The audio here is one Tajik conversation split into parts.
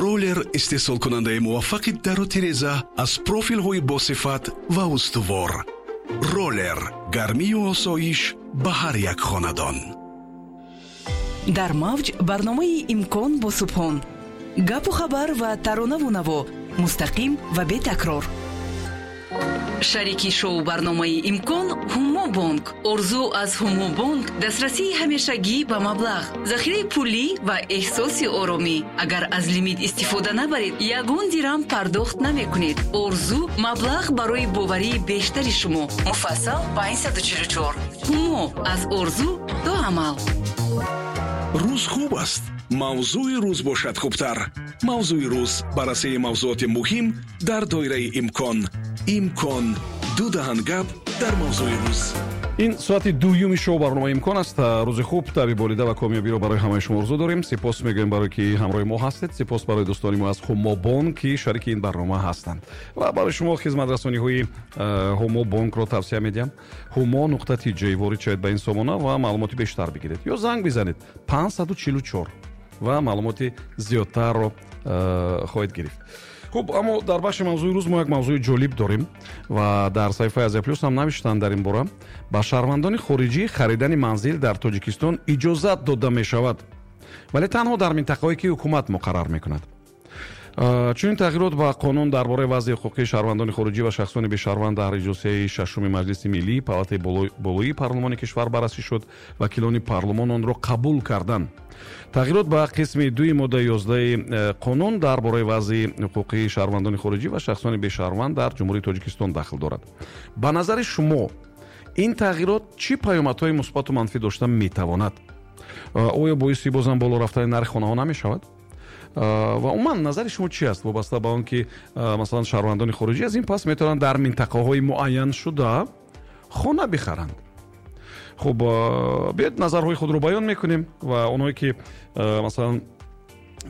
Роллер истеҳсолкунандаи муваффақи дару тиреза аз профилҳои босифат ва устувор. Роллер, гармию осоиш ба ҳар як хонадон. Дар мавҷ барномаи «Имкон» бо Субҳон. Гапу хабар ва таронаву наво мустақим ва бетакрор. Шарики шоу барномаи «Имкон» Ҳумо Бонк. Орзу аз Ҳумо Бонк дастрасии ҳамешагӣ ба маблағ, захираи пулӣ ва эҳсоси оромӣ. Агар аз лимит истифода набаред, ягон дирам пардохт намекунед. Орзу, маблағ барои боварии бештари шумо. Муфассал 544. Ҳумо, аз орзу то амал. Рӯз хуб аст, мавзӯи рӯз бошад хубтар. «Мавзӯи рӯз», баррасии мавзӯоти муҳим дар доираи имкон. «Имкон», ду даҳан гап дар мавзӯи рӯз. Ин соати дуюми шоу барномаи «Имкон» аст. Рӯзи хуб, табъи болида ва комёбиро барои ҳамаи шумо орзу дорем. Сипос мегӯем, барое ки ҳамроҳи мо ҳастед. Сипос барои дӯстони мо аз Ҳумобонк, ки шарики ин барнома ҳастанд, ва барои шумо хизматрасониҳои Ҳумо Бонкро тавсия медиҳам. humo.tj, ворид шавед ба ин сомона ва маълумоти бештар бигиред ё занг бизанед 544 ва маълумоти зиёдтарро хоҳед гирифт. Хуб, аммо дар бахши «Мавзӯи рӯз» мо як мавзӯи ҷолиб дорем ва дар саҳифаи Азия Плюс ҳам навиштанд дар ин бора. Ба шаҳрвандони хориҷӣ харидани манзил дар Тоҷикистон иҷозат дода мешавад, вале танҳо дар минтақаҳое, ки ҳукумат муқаррар мекунад. Чунин тағйирот ба қонун дар бораи вазъи ҳуқуқии шаҳрвандони хориҷӣ ва шахсони бешаҳрванд дар иҷлосияи шашуми Маҷлиси Миллӣ, палатаи болоии парлумони кишвар, баррасӣ шуд. Вакилони парлумон онро қабул карданд. Тағйирот ба қисми дуи моддаи 11-и қонун дар бораи вазъи ҳуқуқии шаҳрвандони хориҷӣ ва шахсони бешаҳрванд дар Ҷумҳурии Тоҷикистон дахл дорад. Ба назари шумо, ин тағйирот чӣ паёмадҳои мусбату манфӣ дошта метавонад? Оё боиси бозам боло рафтани нархи хонаҳо намешавад? Ва умуман, назари шумо чӣ аст вобаста ба он ки, масалан, шаҳрвандони хориҷӣ аз ин пас метавонанд дар минтақаҳои муайяншуда хона бихаранд? Хуб, биёед, назарҳои худро баён мекунем ва онҳое ки, масалан,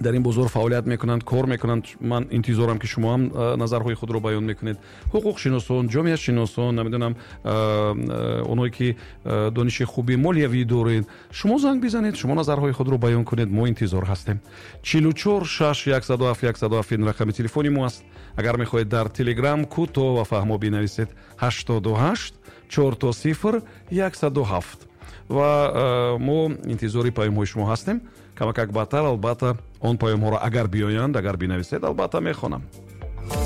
дар ин бозор фаъолият мекунанд, кор мекунанд, ман интизорам, ки шумо ҳам назарҳои худро баён мекунед. Ҳуқуқшиносон, ҷомеашиносон, намедонам, онҳое ки дониши хуби молиявӣ доред, шумо занг бизанед, шумо назарҳои худро баён кунед. Мо интизор ҳастем. 44 6 107 107 ин рақами телефони мо аст. Агар мехоҳед, дар Телеграм кӯтоҳ ва фаҳмо бинависед: 88 000 107. Ва мо интизори паёмҳои шумо ҳастем. Камакак баъдтар, албатта, он паёмҳоро, агар биёянд, агар бинависед, албатта, мехонам.